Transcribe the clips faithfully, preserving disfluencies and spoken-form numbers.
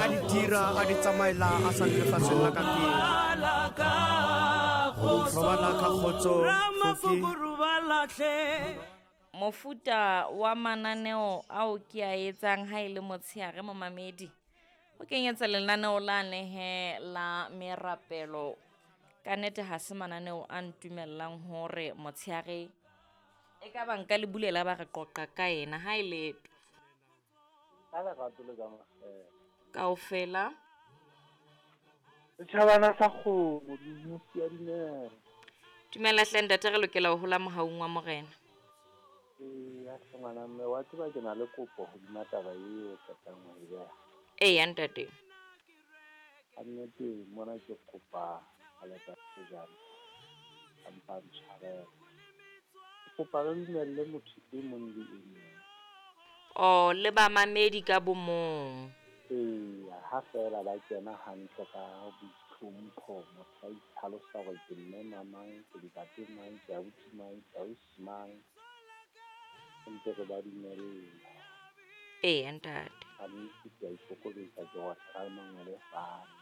A di dira a di tsamaela a sa le lefatsheng la ka pele. Robala ka kgotso Foki. Mofuta wa mananeo ao ke a etsang ha e le motshehare momamedi o kenyetsa lenaneo la nehe la merapelo. Ka nnete ha se mananeo a ntumellang hore motshehare e ka ba nka le bulela ba re qoqa ka ena ha e leto. Ka lerato le ka makgethe. Kaofela. Setjhabana sa kgomo, dinosi ya dineo. Dumela hle ntate, re lokela ho hola mohaung wa morena. Eya hle ngwana mme, wa tseba ke na le kopo hodima taba eo o qetang ho e beha. Eya ntate. Ka nnete mona ke kopa Aleta Sejana, a mpa a ntshwarele. Ke kopa re dumelle motho e mong le e mong. Oh, le bamamedi ka bo mong. Eya, ha feela ba kena hantle ka boitlhompho, motho a itlhalosa hore ke mme mamang, ke ntate mang, ke ausi mang, ke ausi mang. Ntse re ba dumelle. Eya ntate. Ka nnete ke a ikokobetsa, ke otla ka mangwele fatshe.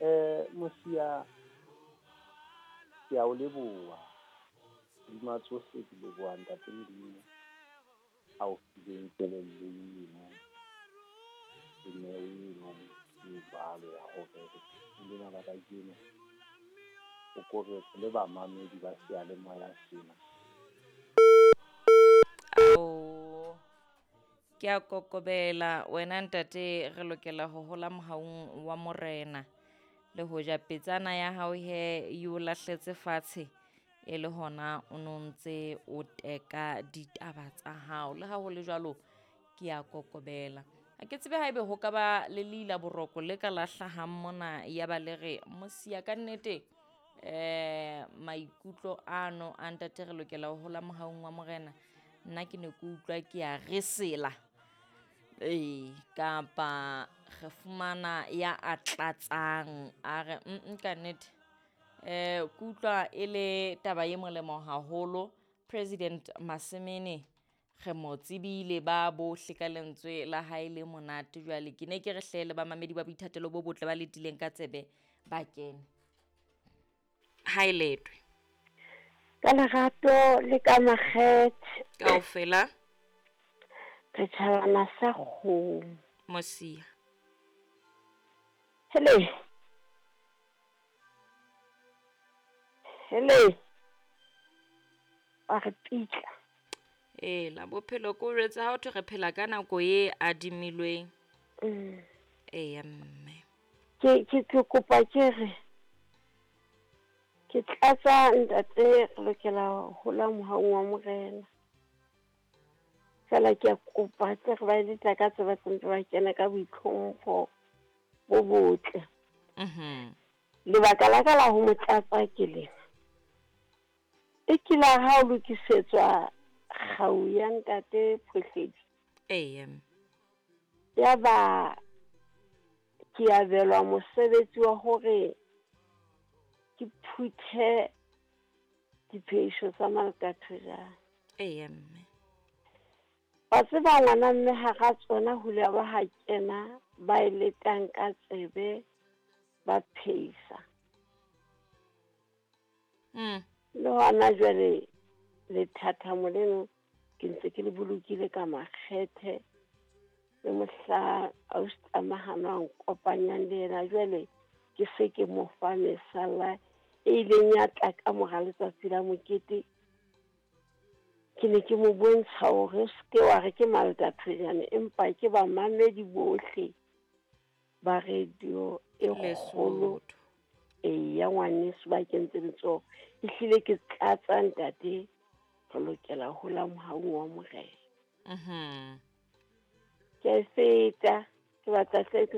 Eh, Mosia, ke a o leboha. Hodima tsohle ke leboha ntate Modimo a o fileng kelello eno le neo eno e jwalo ya hore lena la kajeno o ko re le bamamedi ba seyalemoya sena. Ao, ke a kokobela wena ntate, re lokela ho hola mohaung wa morena. Le hoja petsana ya hao he e o lahletse fatshe e le hona o no ntse o teka ditaba tsa hao. Le ha ho le jwalo ke a kokobela. Ha ke tsebe haebe ho ka ba le leila boroko le ka la hlahang mona ya ba le re Mosia ka nnete eh maikutlo ano a ntate re lokela ho hola mohaung wa morena. Nna ke ne ke utlwa ke a resela. Ee, kapa re fumana ya a tlatsang a re mm ka nnete eh ke utlwa e le taba e molemo haholo. President Masemene re mo tsebile ba bohle ka lentswe la hae le monate. Jwale ke ne ke re hle le bamamedi ba boithatelo bo botle ba letileng ka tsebe ba kene. Ha e letwe. Ka lerato le ka makgethe. Kaofela. Re tjhabana sa kgomo. Mosia. Hele. Hele. Wa re pitla. Ee, la bophelo ko jwetse ha o thwe re phela ka nako e adimilweng. Mm. Eya mme. Ke ke ke kopa ke re ke tlatsa ntate re lokela ho hola mohaung wa morena. Fela ke a kopa tle re ba eletsa ka tseba tse ba kena ka boitlhompho bo botle. Mhm. Lebaka la ka la ho mo tlatsa ke lena. E kile ha o lokisetswa kgau ya ntate Phohledi. Eya. Ya ba ke abelwa mosebetsi wa hore ke phuthe diphehiso tsa Malkathojane. Eya mme. Wa tseba ngwana mme hara tsona ho ile ba ha kena ba e letang ka tsebe ba phehisa. Mm. Le hona jwale lethathamo leno ke ntse ke le bolokile ka makgethe le mohla ausi Tlamahano a nkopanyang le yena. Jwale ke se ke mo fa mesalla e ileng ya tla ka mora letsatsi la mokete. Ke ne ke mo bontsha hore o se ke wa re ke Malkathojane, empa ke bamamedi bohle ba radio e kgolo. Lesotho. Eya ngwaneso ba kentse letsoho. Ehlile ke tlatsa ntate, re lokela ho hola mohaung wa morena. Mhm. Ke a e feta, ke batla hle ke